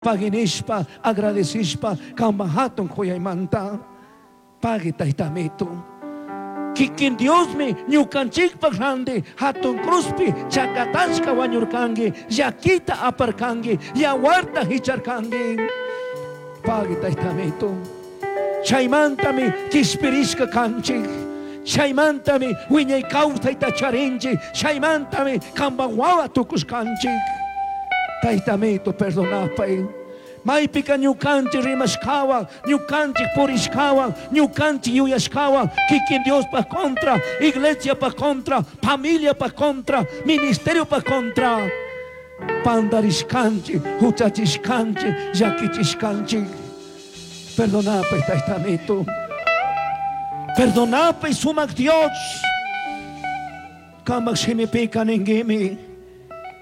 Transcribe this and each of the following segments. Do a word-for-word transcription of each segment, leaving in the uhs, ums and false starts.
Paginishpa, agradecishpa, kamba hatun kuyaymanta. Pagui taytamito. Kikin Diosmi ñukanchikpaq randi hatun cruzpi chakatashka wañurkanki, llakita aparkanki, yawarta hicharkanki. Pagui taytamito. Chaymantami kishpirishka kanchik. Chaymantami wiñay kawsayta charinchik. Chaymantami kamba wawa tukushkanchik. Taytamito, perdonapay. Maypika ñukanchik rimashkawan, ñukanchik purishkawan, ñukanchik yuyashkawan, kikin Diospa contra, iglesiapa contra, familiapa contra, ministeriopa contra. Pandarishkanchik, huchachishkanchik, llakichishkanchik. Perdonapay, taytamito. Perdonapay, sumak Dios. Kamak shimipika ningimi.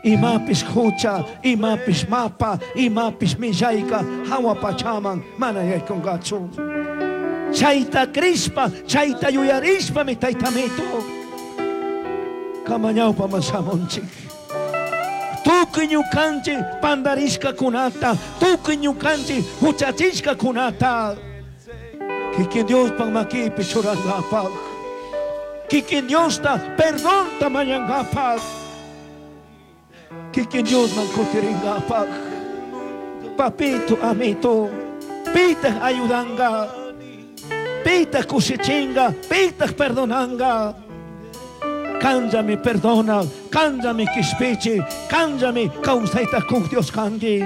Imapis hucha, imapis mapa, imapis millayka, hawa pachaman, mana yaykunqachu. Chayta krishpa, chayta yuyarishpa mi taytamito. Kamañawpaman shamunchik. Tukuy ñukanchik pandarishkakunata, tukuy ñukanchik huchachishkakunata. Kikin Diospaq makipi churankapaq. Kikin Diosta perdonta mañankapaq. Kikin Diosman kutiringapaq. Papito, amito, pitaq ayudanga, pitaq kushichinga, pitaq perdonanga. Kanllami perdona, kanllami kishpichi, kanllami kawsayta kuq Dios kanki.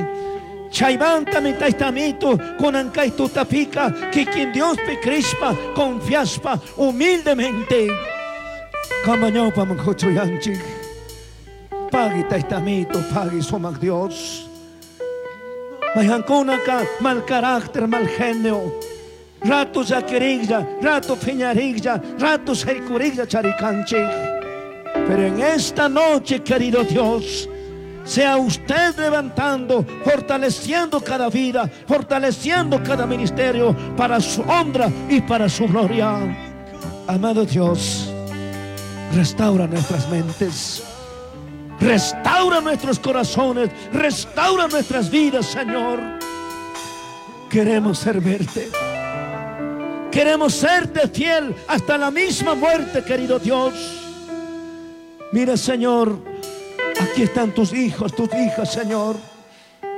Chaymantami taytamito, kunan kay tutapika, kikin Diospi krishpa, confiaspa, humildemente. Kamañawpaman huchuyanchik. Pagui taytamito, pagui sumak Dios. Mayhankunaka mal carácter, mal genio. Rato llakiriklla, rato phiñariklla, rato shaykuriklla charikanchik. Pero en esta noche, querido Dios, sea usted levantando, fortaleciendo cada vida, fortaleciendo cada ministerio para su honra y para su gloria. Amado Dios, restaura nuestras mentes. Restaura nuestros corazones, restaura nuestras vidas, Señor. Queremos servirte. Queremos serte fiel hasta la misma muerte, querido Dios. Mira, Señor, aquí están tus hijos, tus hijas, Señor,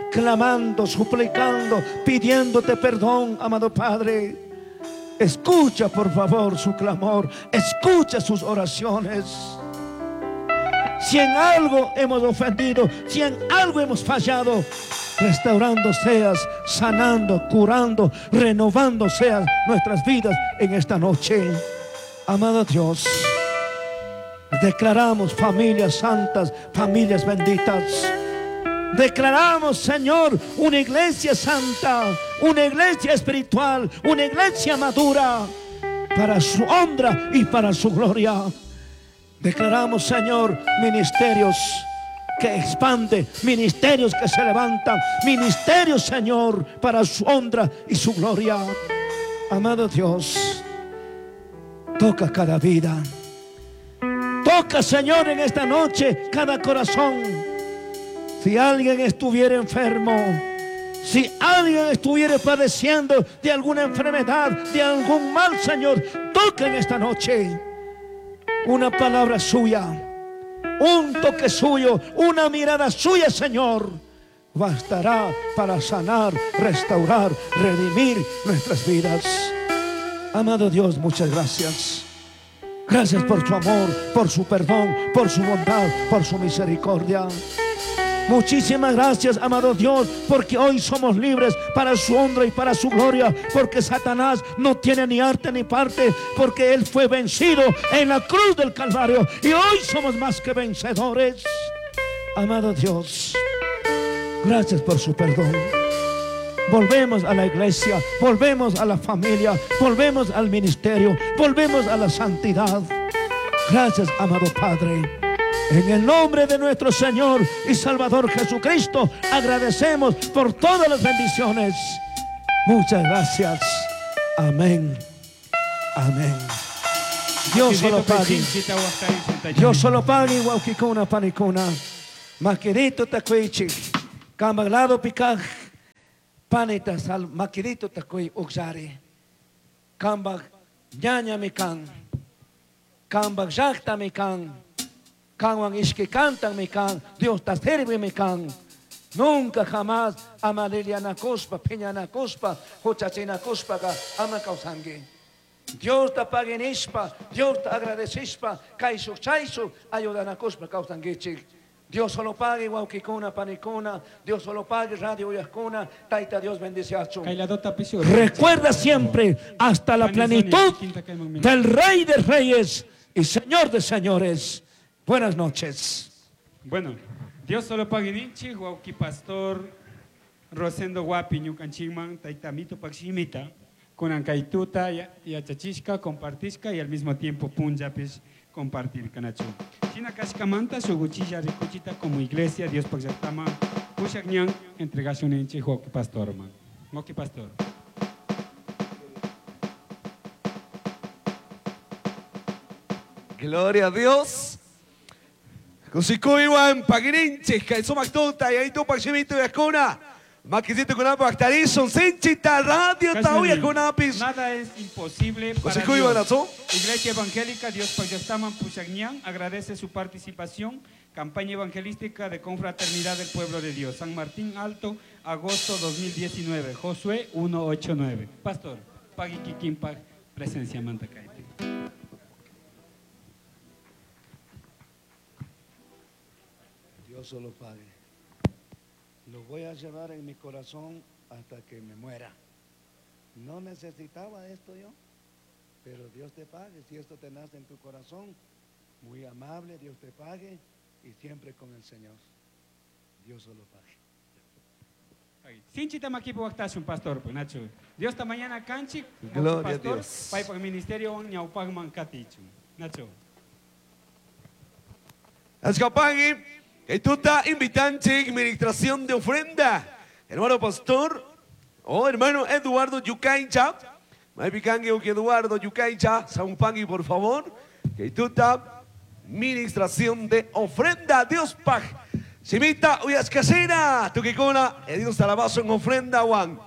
clamando, suplicando, pidiéndote perdón, amado Padre. Escucha, por favor, su clamor. Escucha sus oraciones. Si en algo hemos ofendido, si en algo hemos fallado, restaurando seas, sanando, curando, renovando seas nuestras vidas en esta noche. Amado Dios, declaramos familias santas, familias benditas. Declaramos, Señor, una iglesia santa, una iglesia espiritual, una iglesia madura, para su honra y para su gloria. Declaramos, Señor, ministerios que expanden, ministerios que se levantan, ministerios, Señor, para su honra y su gloria. Amado Dios, toca cada vida. Toca, Señor, en esta noche cada corazón. Si alguien estuviera enfermo, si alguien estuviera padeciendo de alguna enfermedad, de algún mal, Señor, toca en esta noche. Una palabra suya, un toque suyo, una mirada suya, Señor, bastará para sanar, restaurar, redimir nuestras vidas. Amado Dios, muchas gracias. Gracias por su amor, por su perdón, por su bondad, por su misericordia. Muchísimas gracias, amado Dios, porque hoy somos libres para su honra y para su gloria, porque Satanás no tiene ni arte ni parte, porque él fue vencido en la cruz del Calvario y hoy somos más que vencedores. Amado Dios, gracias por su perdón. Volvemos a la iglesia, volvemos a la familia, volvemos al ministerio, volvemos a la santidad. Gracias, amado Padre. En el nombre de nuestro Señor y Salvador Jesucristo, agradecemos por todas las bendiciones. Muchas gracias. Amén. Amén. Dios solo pague. Dios solo pague. Wawqikuna panikuna. Maquirito takuichi. Kamaglado pikaj. Panita sal makirito takuy uksari. Kambak ñaña mi kan. Kambak llaqta mi kan. Kanwan ishki kantan mi kan. Dios ta sirve mi kan. Nunca jamás ama lilianakuspa, piñanakuspa, huchachinakuspa ama kawsanki. Dios ta paguinishpa, Dios ta agradecishpa, kayshuk chayshuk ayudanakuspa kawsankichik. Dios solo pague wawkikuna, panikuna, Dios solo pague radio uyajkuna, Taita Dios bendice a. Recuerda siempre hasta la plenitud del Rey de Reyes y Señor de Señores. Buenas noches. Bueno, Dios solo pague ninchi, wawki pastor Rosendo Guapi, ñukanchikman, Taita Mito Pakshimita, kunan kay tuta, yachachishka, compartishka y al mismo tiempo punllapis compartir kanachu. Shina kashkamanta shuguchilla rikuchita como iglesia Dios pakllaktama pushakñan entregashun ninchi wawki pastor man. Wawki pastor. Gloria a Dios. Kusikuywan pagirinchik kay sumaq tuta y ahí tupak shimito yakuna. Maquisito con Actarison, Sinchita Radio Tauya con Apis. Nada es imposible para Dios. Iglesia Evangélica Dios Payastaman Pushagñán agradece su participación. Campaña evangelística de Confraternidad del Pueblo de Dios. San Martín Alto, agosto dos mil diecinueve. Josué uno ocho nueve. Pastor, Pagui Kikinpag, presencia Mantacaite. Dios solo pague. Lo voy a llevar en mi corazón hasta que me muera. No necesitaba esto yo, pero Dios te pague. Si esto te nace en tu corazón, muy amable, Dios te pague y siempre con el Señor. Dios solo pague. Sinchita makipo waktasun, pastor, pues, Nacho. Dios ta mañana canchi, Gloria pastor, a Dios. Paipak ministerio ñaupagman katichu. Nacho. Ascapagui. Tuta invitante, administración de ofrenda. Hermano pastor, oh hermano Eduardo Yucaincha. Maipicangue Eduardo Yucaincha, Sampangui, por favor. Tuta, administración de ofrenda. Dios paj. Simita, uyascasina, tuquicuna, Dios talabazo en ofrenda, Juan.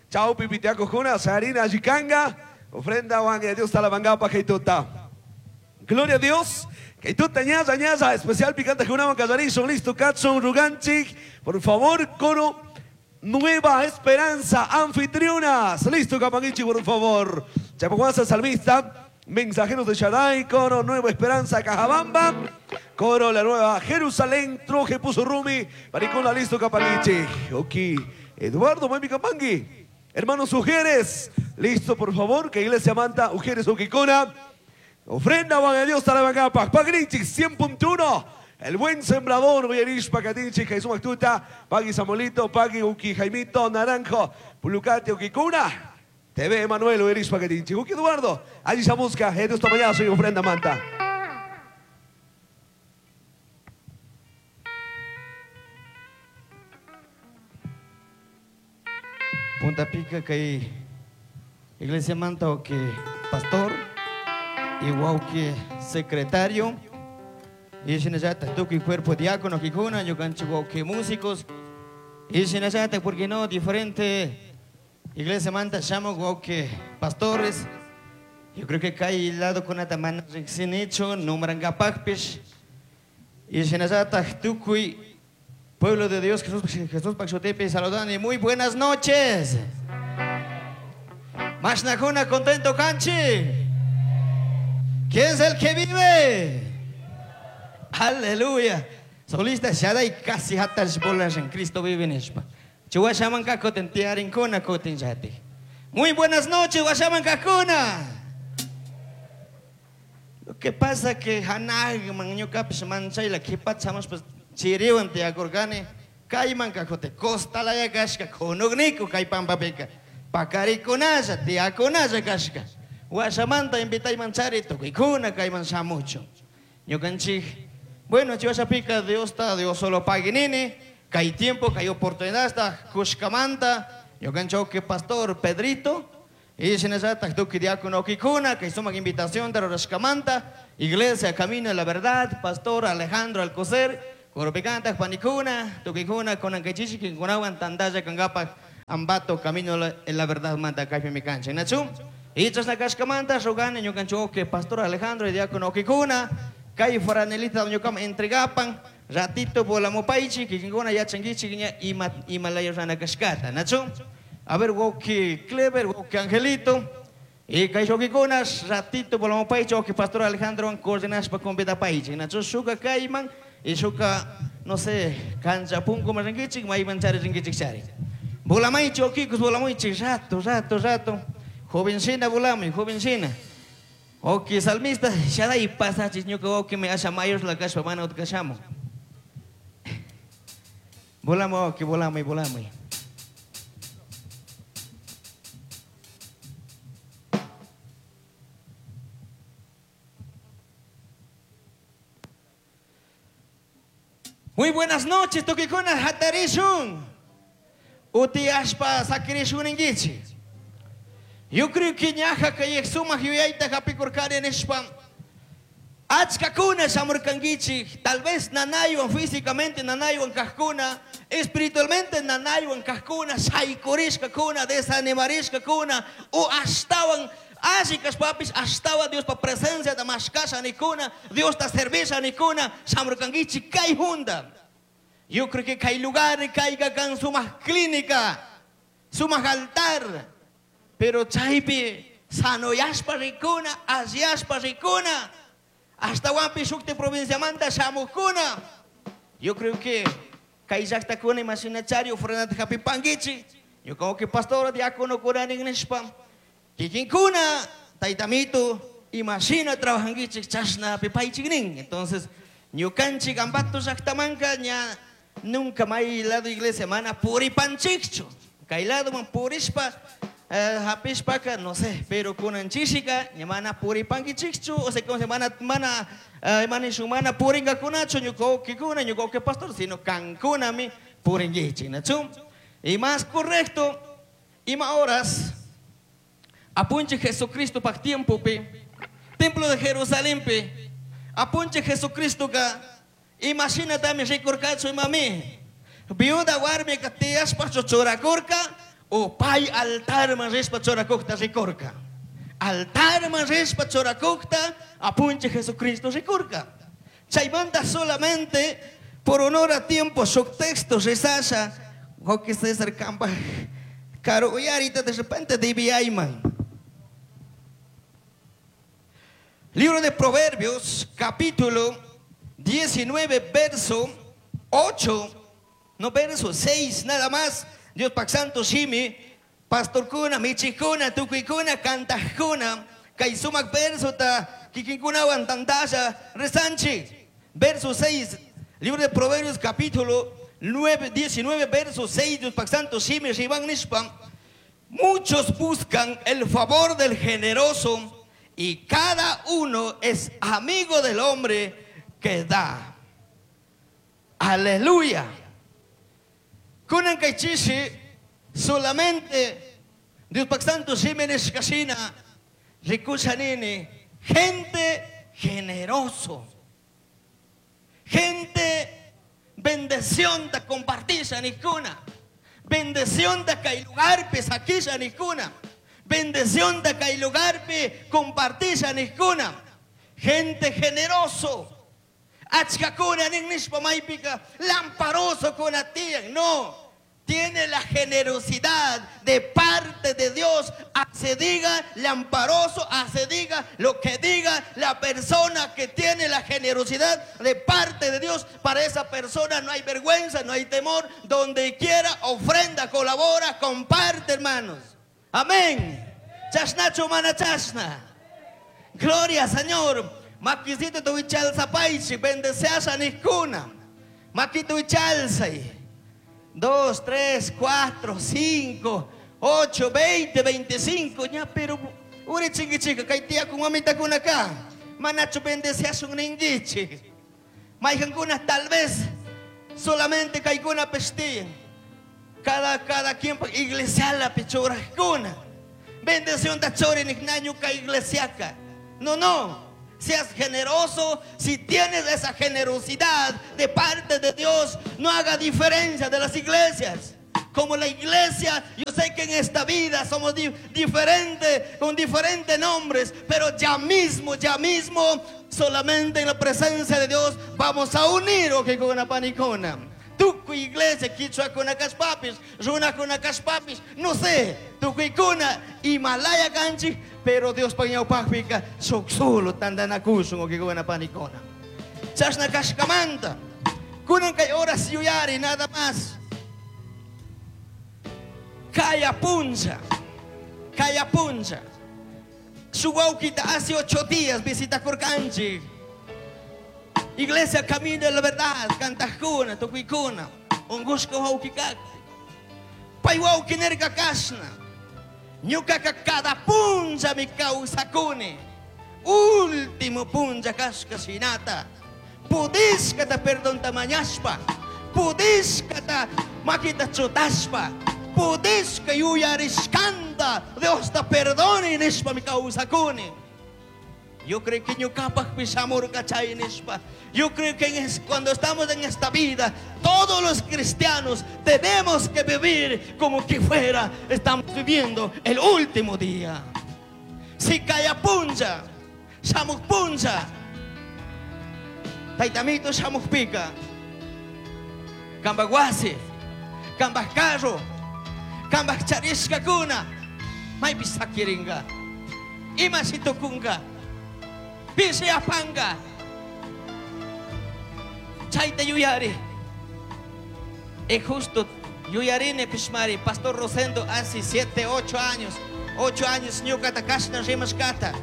Chao, pipitiaco, juna, sarina, yicanga. Ofrenda, Juan, Dios talabangapa, tuta. Gloria a Dios. Que tú ñaza, ñaza, especial picante Junaman Callarizo, listo, Katson, Ruganchik, por favor, coro Nueva Esperanza, anfitrionas, listo, Capanguichi, por favor. Chapaguanza, salmista, mensajeros de Shaddai, coro Nueva Esperanza, Cajabamba, coro La Nueva Jerusalén, Troje, Puso Rumi, Maricola, listo, Capanguichi. Ok, Eduardo, Mami Capangui, hermanos Ujeres, listo, por favor, que Iglesia Manta, Ujeres, Uquicona. Ofrenda van a Dios Tarabacapa, Pagrinchik cien punto uno, el buen sembrador, Villarish, Pacatinchik, Jesús Mactuta, Pagui Samolito, Pagui Uki Jaimito, Naranjo, Pulucate, Uquicuna, T V Emanuel, Villarish, Pacatinchik, Uki Eduardo, allí se busca, Jesús Tamayazo y ofrenda manta. Punta Pica, que Iglesia Manta, o que pastor. Igual que secretario, y shinallata tuki cuerpo diácono kikuna, ñukanchik que músicos, y shinallata, porque no, diferente iglesia manta llamo que pastores. Yo creo que cae lado con atamana sin hecho, nombrangapakpish, y shinallata tukuy pueblo de Dios, Jesús, Jesús Paxotepe, saludan y muy buenas noches. Mashnakuna contento canchi. ¿Quién es el que vive? Aleluya. Solista Shaddai casi hatas bolas en Cristo vive en Espa. Chuashaman kakoten tiarinkuna koten yati. Muy buenas noches, Guashaman kakuna. Lo que pasa que hanag man ñukapish manchayla kipachamos pues chiriwan tiakurkani kayman kakote costalaya kashka kunugniku kay pampapika pakarikunalla tiakunalla kashka. Guashamanta invitayman chari tukuykuna kayman shamuchu. Ñukanchik, bueno, chiwashapika Dios ta, Dios solo paguinini, kay tiempo, kay oportunidad ta, kushkamanta, ñukanchik que pastor Pedrito, y shinallata tukuy diácono kikuna, kay sumak invitación de rurashkamanta, Iglesia Camino de la Verdad, pastor Alejandro Alcocer, koropikanta panikuna, tukuykuna konankachichi kinkunawan tantalla kangapak Ambato camino en la verdad manta kaypi mi kanchik nachu y chashna kashkamanta rogani ñukanchik que pastor Alejandro y diácono kikuna kay franelita ñukaman entregapan ratito volamupaychik kikinkuna yachankichik ña ima ima laya rana kashkata nachu. A ver, wauki Clever, wauki Angelito y kay wawkikuna ratito volamupaychik wauki pastor Alejandro coordinashpa convidapaychik nachu shuka kayman y shuka no sé cancha punkuman rinkichik mayman chari rinkichik chari. Volamaychik wawkikus volamuychik rato rato rato jovencina volamuy jovencina. Oki salmista shaday pasachis ñuka wawkimi asha mayor la kashpa mana utkashamu. Volamuy wawki volamuy volamuy. Muy buenas noches, tukikuna hatarishun. Uti ashpa sakirishun ingichi. Yo creo que ñaja kay sumaq yuyayta hapikurkani nishpa achkakuna shamurkankichik, tal vez nanaywan físicamente nanaywan kajkuna, espiritualmente nanaywan kajkuna, shaykurishkakuna, desanimarishkakuna, o ashtawan alli kashpapis ashtawan Diospa presencia ta mashkasha nikuna, Diosta servisha nikuna, shamurkankichik kay hunda. Yo creo que kay lugar kayka kan sumaq clínica, sumaq altar, pero chaypi sanoyashpa rikuna, alliyashpa rikuna, ashtawanpi shukti provinciamanta shamukuna. Yo creo que kay llaqtakuna imashinachari ofrendata hapipankichik. Yo como que pastor diácono kunanin nishpa kikinkuna taytamito imashina trabajankichik chashna hapipaychik nin. Entonces ñukanchik Ambato llaqtamanka ña nunca may lado iglesia mana puripanchikchu. Kay ladoman purishpa eh, hapishpaka no sé, pero kunanchishika ña mana puripankichikchu, o sea, como se mana mana eh, manishu mana puringakunachu ñuka wawkikuna ñuka wawki pastor, sino kankunami purinkichik nachu. Y más correcto ima horas apunche Jesucristo pak tiempo pi templo de Jerusalén pi apunche Jesucristo ka imagina también rikurkachu imami viuda warmi ka tiyashpa churakurka o pay altar man rishpa churakukta rikurka altar man rishpa churakukta apunche Jesucristo rikurka. Chaymanta solamente por honor a tiempo shuk texto risasha Joque César Campa caro uyarita de repente dibiyayman. Libro de Proverbios, capítulo diecinueve, verso ocho, no verso seis, nada más. Dios pak santo shimi, pastor kuna, michikuna, tukikuna, kantajkuna, kay sumak verso ta kikinkunawan tandasha rezanchi. Verso seis, libro de Proverbios, capítulo nueve, diecinueve, verso seis, Dios pak santo shimi, riban nishpa. Muchos buscan el favor del generoso y cada uno es amigo del hombre que da. Aleluya. Kunan kaychishi solamente Dios pak santo shimi nishkashina rikushanini gente generoso, gente bendición da compartisha nikuna, bendición da kay lugarpi sakisha nikuna, bendición da kay lugarpi compartisha nikuna, gente generoso. Achkakuna nin nishpa maypika lamparoso kuna tiyan, no, tiene la generosidad de parte de Dios. Se diga lamparoso, se diga lo que diga la persona que tiene la generosidad de parte de Dios. Para esa persona no hay vergüenza, no hay temor. Donde quiera ofrenda, colabora, comparte, hermanos. Amén. Chashnacho mana chashna. Gloria, Señor. Maquisito tu chalsa paichi, bendeceasa nikuna. Maquito chalsa. Dos, tres, cuatro, cinco, ocho, veinte, veinticinco. Ya, pero uri chingui chica, kaitia con mamita con acá. Manacho bendeceasa un ninguichi. Maijancuna tal vez solamente kaikuna pestían. Cada, cada quien iglesia la pechora cuna. Bendición da chori niknañu ka iglesiaca. No, no. Seas generoso. Si tienes esa generosidad de parte de Dios, no haga diferencia de las iglesias. Como la iglesia, yo sé que en esta vida somos di diferentes, con diferentes nombres, pero ya mismo, ya mismo, solamente en la presencia de Dios vamos a unir, ok, con una panicona. Tukuy iglesia, kichwakuna kashpapis, runakuna kashpapis, no sé, tukuykuna, Himalaya kanchik, pero Dios ñawpajpika, shuk solo tandanakushun, ok, con una panicona. Chashna kashkamanta, kunan kay horas yuyari, nada más. Kaya puncha, kaya puncha. Shuk wawkita hace ocho días visita kurkanchik. Iglesia Camino de la Verdad, kantajkuna, tukuykuna, ungushka wawkikak. Pay wawki nirka kashna. Ñukaka cada puncha mi kawsakuni. Último puncha kashka shinata. Pudishkata perdonta mañashpa. Pudishkata makita chutashpa. Pudishka yuyarishkanta Dios ta perdone nishpa mi kawsakuni. Yo creo que ñukapaj shamurka chay nishpa. Yo creo que en es, cuando estamos en esta vida, todos los cristianos tenemos que vivir como que fuera, estamos viviendo el último día. Si kaya puncha, shamuk puncha, taytamito shamukpika, kambaj wasi, kambaj carro, kambaj charishkakuna, maypi sakiringa, imashi tukunga, pishi apanga. Chayta yuyari. Es justo yuyarini pishmari. Pastor Rosendo hace siete, ocho años, ocho años ñukata kashna rimashkata.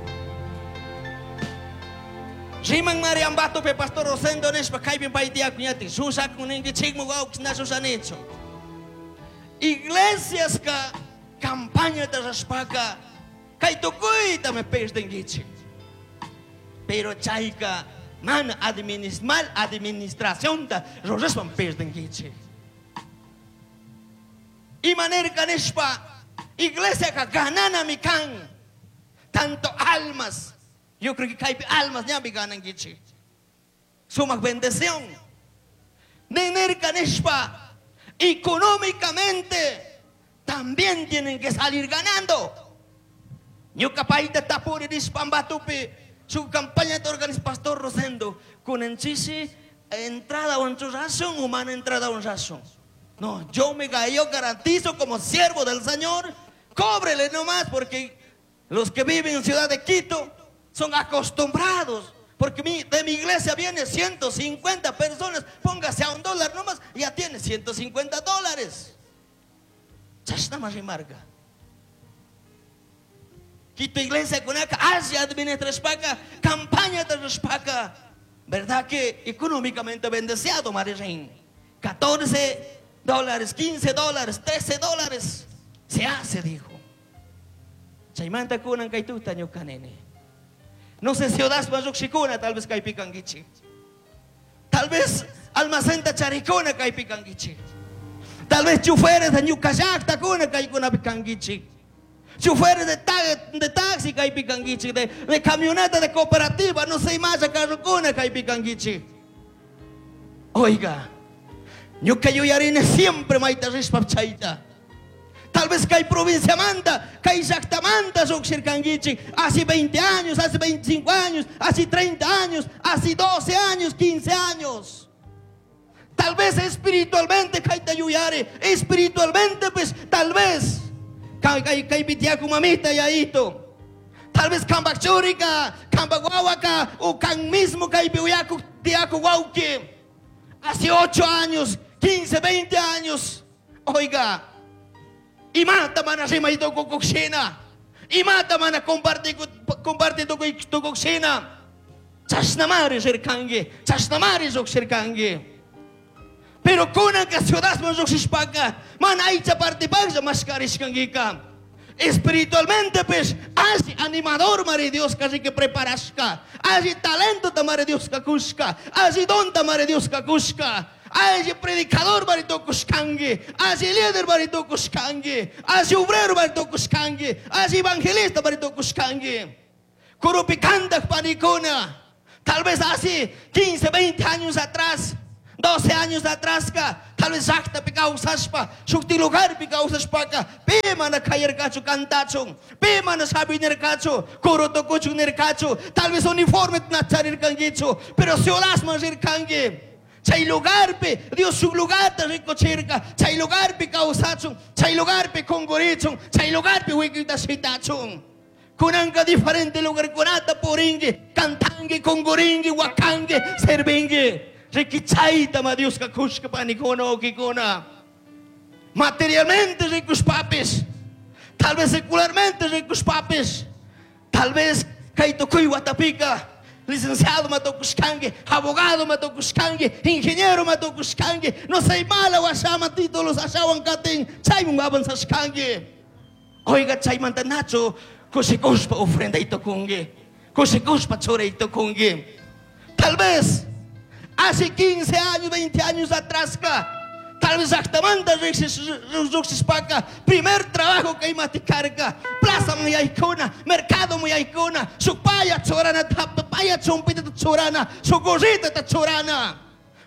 Riman mari ambatope Pastor Rosendo nishpa kaypin paytiyakuñatik shushakun ninkichikmi wawkis na shushanichu. Iglesias ka campaña rashpaka kay tukuyta me perdinkichik. Pero chayka man administ mal administración ta rurashpan perdinkichik. Imanirka nishpa iglesia ka ganana mi kan tanto almas. Yo creo que kaypi almas ñapi ganankichik. Sumak bendición. Ninirka nishpa económicamente también tienen que salir ganando. Ñuka payta tapuri nishpa Ambatopi su campaña de organiza Pastor Rosendo con enchisi entrada un razón humana entrada un razón. No, yo me yo garantizo como siervo del Señor, cóbrele nomás, porque los que viven en Ciudad de Quito son acostumbrados, porque mi, de mi iglesia viene ciento cincuenta personas, póngase a un dólar nomás, ya tiene ciento cincuenta dólares. Chashna más remarca. Quito iglesia con acá, hacia administrashpaka, campaña de rashpaka. ¿Verdad que económicamente bendecido, María? catorce dólares, quince dólares, trece dólares. Se hace, dijo. Chaymanta kunan kaytuta ñukanini. No sé si odaspa lluqshikuna, tal vez kaypikankichik. Tal vez almacenta charikuna kaypikankichik. Tal vez choferes de ñuqallaqta kuna kaykunapi kankichik. Choferes de, ta de taxi kaypikankichik, de, de camioneta de cooperativa, no sé más carrokuna kaypikankichik. Oiga, ñuqa yuyarini siempre mayta rishpa chayta. Tal vez kay provincia manta, kay llaqtamanta lluqshirkankichik, hace veinte años, hace veinticinco años, hace treinta años, hace doce años, quince años. Tal vez espiritualmente kayta yuyari, espiritualmente pues tal vez kay kay pitiaku mamita yaito. Tal vez kambak churika, kambak wawaka, o kan mismo kaypi uyaku tiaku wawki. Hace ocho años, quince, veinte años. Oiga, imata mana rimay tukukuqshina, imata mana comparti comparti tukukuqshina. Chashnamari rirkanki, chashnamari lluqshirkanki. Pero kunanka ciudadman lluqshishpaka, mana aycha partipaqlla mashkarishkankika. Espiritualmente pues, así animador mari Dios casi que preparashka, así talento ta mari Dios kakushka, así don ta mari Dios kakushka, así predicador mari tukushkanki, así líder mari tukushkanki, así obrero mari tukushkanki, así evangelista mari tukushkanki. Kurupi kantaq panikuna, tal vez hace quince, veinte años atrás, doce años atrás tal vez llaqtapi kawsashpa shukti lugarpi kawsashpaka pi mana kayarkachu kantachun pi mana sabinirkachu kurutukuchun nirkachu tal vez uniforme nacharirkankichu pero ciudadman rirkanki chay lugarpi Dios shuk lugarta rikuchirka chay lugarpi kawsachun chay lugarpi kunkurichun chay lugarpi wikita shitachun. Kunanka diferente lugarkunata purinki kantanki kunkurinki wakanki servinki. Rikichayta ma Dioska kushka panikuna wawkikuna. Materialmente rikushpapis, tal vez secularmente rikushpapis, tal vez kay tukuy watapika licenciado matukushkanki, abogado matukushkanki, ingeniero matukushkanki, no say mala washaman títulos ashawan katin, chaymun avanzashkanki. Oiga chaymanta nacho kushikushpa ofrenda itukunki, kushikushpa chura itukunki. Tal vez hace quince años, veinte años atrás, tal vez llaqtamanta riqsishpaka primer trabajo que imatikarka plaza muyaykuna, mercado muyaykuna, shuk paya churana, paya chumpita churana, shuk gorrita churana,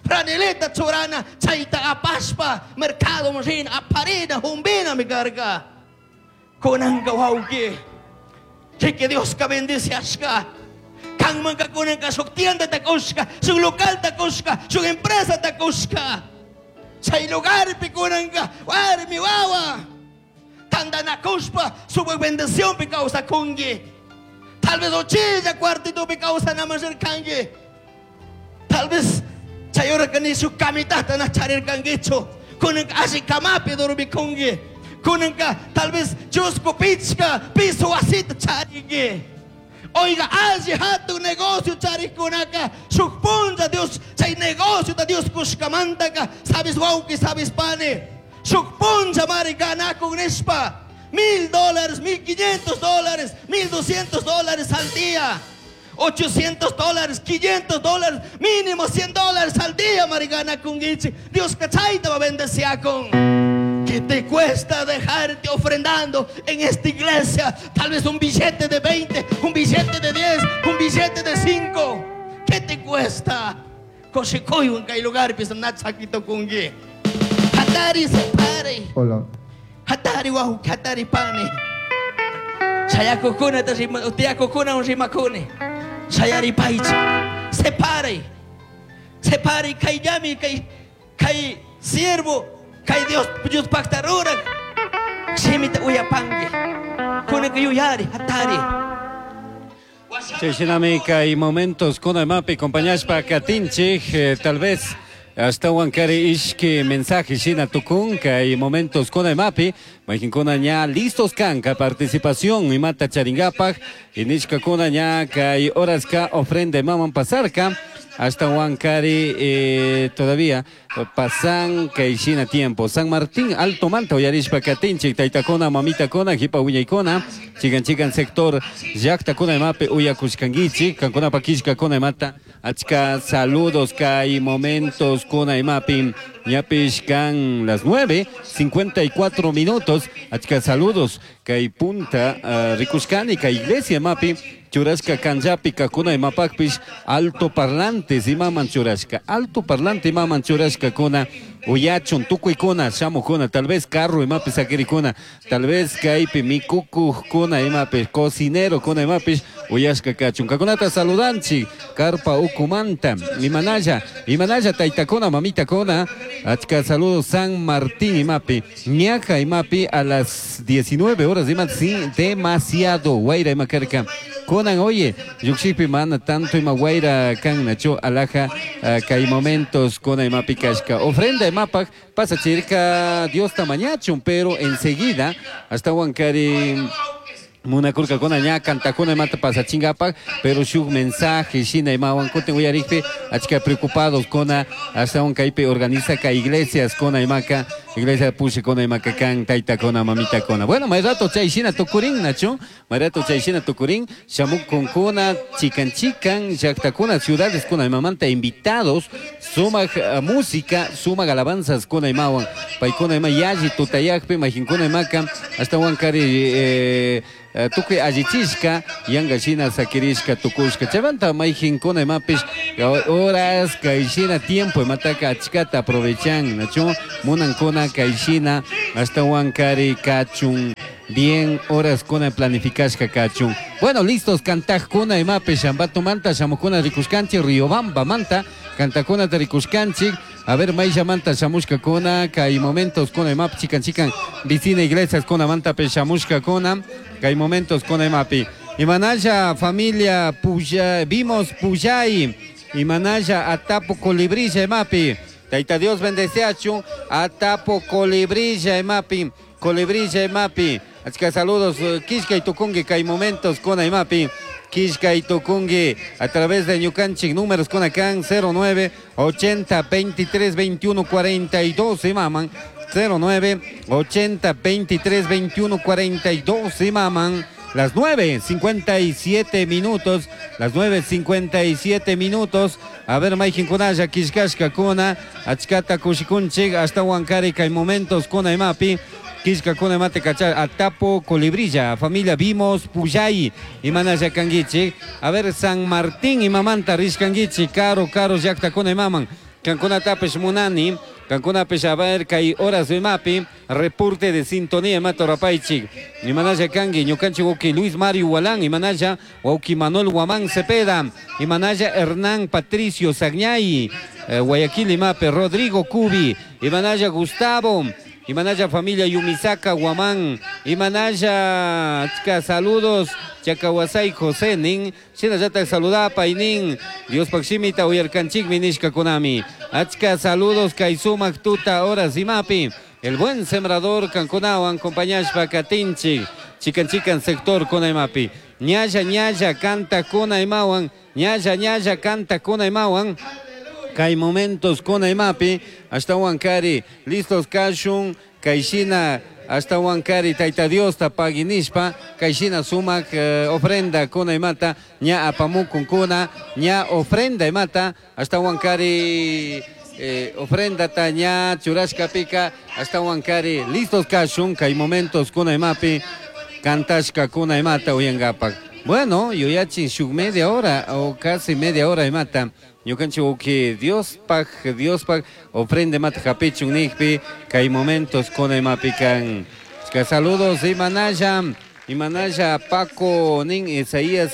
franelita churana, chayta apashpa, mercado rina, aparina, jumbina mi karka. Kunanka wawqi, que Dios ka bendice ashka. Kanmanka kunanka shuk tienda takushka, shuk local takushka, shuk empresa takushka. Chay lugarpi kunanka warmi wawa tandanakushpa supak bendición pi kawsakunki. Tal vez uchilla cuartito pi kawsanaman rirkanki. Tal vez chay horaka ni shuk kamitata na charirkankichu. Kunanka alli kamapi dormikunki. Kunanka tal vez chusku pichka piso wasita charinki. Oiga, alli hatun negocio charikunaka, shuk punlla Dios, chay negocio ta Dios kushkamantaka, sabes wawqi, sabes pani, shuk punlla mari ganakun nishpa, mil dólares, mil quinientos dólares, mil doscientos dólares al día, ochocientos dólares, quinientos dólares, mínimo cien dólares al día mari ganakunkichik. Dios kachayta va bendeciakun. ¿Qué te cuesta dejarte ofrendando en esta iglesia? Tal vez un billete de veinte, un billete de diez, un billete de cinco. ¿Qué te cuesta? Kushikuywan kay lugarpi nachakitukunki. Hatari separe. Hola. Hatari wahu, hatari pani. Shayakukuna ta rima, tiyakukuna un rimakuni. Shayari paichi. Separe. Separe kay yami kay kay siervo. Kay Dios, Dios pacta rurak. Shimita uyapangi. Kunaka yuyari, hatari. Chay kay momentos kuna mapi compañashpa katinchik, eh, tal vez hasta wankari ishki mensaje shina tukun kay momentos kuna mapi mayqinkuna ña listos kanka participación imata charingapaj inishka kuna ña kay horaska ofrenda imaman pasarka hasta Huancari eh, todavía pasan kay shina tiempo. San Martín Alto Manta uyarishpa katinchik taytakuna mamitakuna hipa wiñaykuna chikan chikan sector llaqtakuna imapi uyakushkankichik kankunapa killkakuna imata achka saludos kay momentos kuna imapi ñapish kan las nueve cincuenta y cuatro minutos achka saludos kay punta uh, rikushkani kay iglesia imapi churashka kanllapi kakuna imapakpish alto parlantes imaman churashka alto parlante imaman churashka kuna uyachun tukuykuna shamukuna tal vez carro imapi sakirikuna tal vez kaypi mikukujkuna imapi cocinero kuna imapish uyashka kachun kakunata saludanchik karpa ukumanta imanalla imanalla taytakuna mamitakuna achka saludos San Martín imapi ñaja imapi a las diecinueve horas ima sí, demasiado wayra ima karka kunan oye llukshipi mana tanto ima wayra kan nacho alaja uh, kay momentos kuna imapi kashka ofrenda imapak pasa chirka Dios tamañachun pero enseguida hasta Huancari munakurka kuna ña kantakuna imata pasachingapak pero shuk mensaje shina imawan kutin uyarikpi achka preocupados kuna hasta kaypi organiza ka iglesias kuna imaka Iglesia pushakuna imaka kan taytakuna mamitakuna. Bueno, may rato chay shina tukurin nachu, may rato chay shina tukurin shamukunkuna chikan chikan llaqtakuna ciudades kuna imamanta invitados sumaq uh, música sumaq alabanzas kuna imawan paykuna ima yalli tutayaqpi majinkuna imaka ashtawan kari eh, tukuy allichishka yanka shina sakirishka tukushka chaymanta mayjinkuna imapish horas kay shina tiempo imataka achkata aprovechan nachu munankuna kay shina ashtawan kari kachun bien horas kuna planificashka kachun. Bueno, listos kantajkuna imapish Ambatomanta shamukuna rikushkanchik Riobamba manta kantakunata rikushkanchik. A ver, mayshamanta shamushkakuna kay momentos kuna imapi chikan chikan vecina iglesias kuna mantapish shamushkakuna kay momentos kuna imapi. Imanalla familia Puya, vimos Puyay, Imanalla Atapo Colibrilla imapi. Taita Dios bendeceachu Atapo Colibrilla imapi, Colibrilla imapi. Achka saludos Kishka y Tucungi kay momentos kuna imapi. Kishka y Tucungi a través de ñukanchik números con acá cero nueve ochenta veintitrés veintiuno cuarenta y dos imaman cero nueve ochenta veintitrés veintiuno cuarenta y dos imaman. Las nueve cincuenta y siete minutos, las nueve cincuenta y siete minutos. A ver, Maijin Kunaya, Kishkashka Kuna, Achkata Kushikunchik, hasta Huancari, kay momentos kuna imapi. Kishka kuna mate kacha, Atapo Colibrilla, familia Vimos Puyay, Imanaya Kanguichi. A ver, San Martín, Imamanta, Rishkanguichi, Caro, Caro, Yakta kuna imaman. Cancuna Tapesh Munani, Cancuna Peshaber, Kai horas de mapi, reporte de sintonía, Mato Rapaichik, Imanaya Kangi, Ñukanchi Woki Luis Mario Walán, Imanaya Woki Manuel Guamán Cepeda, Imanaya Hernán Patricio Sagñay, eh, Guayaquil Imape, Rodrigo Cubi, Imanaya Gustavo, Imanaya familia Yumisaka Guamán, Imanaya, chica, saludos, Chacahuasay José nin, Shinallata saludapa y nin, Dios Paximita Uyarcanchik Minishka Konami, Achka saludos Kaisumak Tuta Horas Imapi, el buen sembrador Canconawan, compañashpa Katinchi, Chican Chican sector Konaimapi, Ñaya Ñaya canta Konaimawan, Ñaya Ñaya canta Konaimawan. Kay momentos con imapi hasta Huancari, listos kashun, Kaishina, hasta Huancari, Taita Dios, tapaginishpa, Kaishina sumak eh, ofrenda con imata, ña apamukun kuna, ña ofrenda imata, hasta Huancari, eh, ofrenda ta ña churashka pica, hasta Huancari, listos kashun, kay momentos con imapi, kantashka kuna imata uyangapak. Bueno, yo ya shuk media hora o casi media hora imata. Ñukanchik uki Dios paj, Dios paj, ofrende mata japichun nijpi, kay momentos con imapi kan. Saludos Imanaya, Imanaya Paco nin Isaías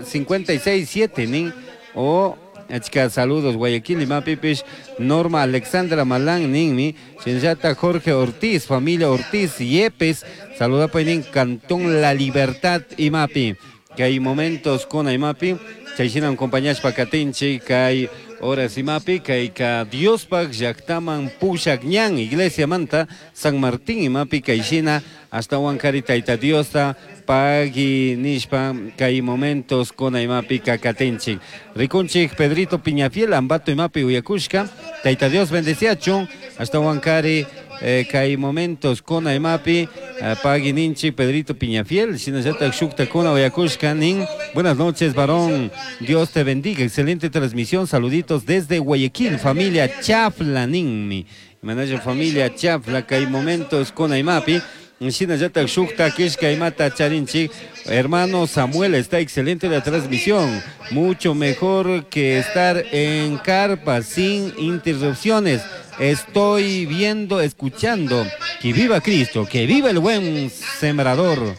cincuenta y seis siete nin o achka saludos Guayaquil imapipish Norma Alexandra Malán ninmi, Shinllata Jorge Ortiz, familia Ortiz Yepes, saluda nin Cantón La Libertad imapi. Que hay momentos con imapi, chayshinan compañashpa katinchik, kay horas imapi, kay ka Diospaq llaqtaman pushaq ñan, iglesia manta, San Martín imapi, kayshina, hasta Huancari tayta Diosta, pagui nishpa, kay momentos con imapi kakatinchik. Rikunchik Pedrito Piñafiel, Ambato imapi uyakushka, tayta Dios bendeciachun, hasta Huancari, eh, kay momentos con imapi, eh, pagui ninchi Pedrito Piñafiel, shinallata shukta kuna uyakushka nin. Buenas noches, varón, Dios te bendiga, excelente transmisión, saluditos desde Guayaquil, familia Chafla ninmi. Manaya familia Chafla, kay momentos con imapi. Shinallata shukta kishka imata charinchik. Hermano Samuel, está excelente la transmisión, mucho mejor que estar en carpa sin interrupciones. Estoy viendo, escuchando. Que viva Cristo, que viva el buen sembrador,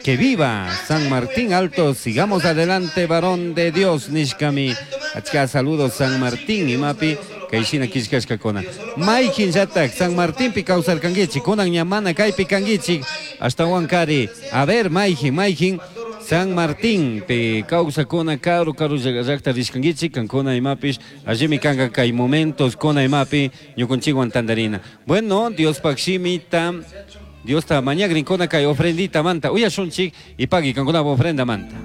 que viva San Martín Alto. Sigamos adelante, varón de Dios, Nishkami. Achka saludos San Martín imapi. Kayshina kishkashkakuna. Maykin llatak San Martín pi kawsarkankichik, kunan ñamana kaypi kankichik, hasta Huancari. A ver, mayjin, mayjin, San Martín pi kawsakuna karu karu llaqta rishkankichik, kankuna imapish, allimi kanka kay momentos kuna imapi, ñukunchikwan tandarina. Bueno, Diospaq shimita, Diosta mañagrinkuna kay ofrendita manta, uyashunchik y pagui kankuna ofrenda manta.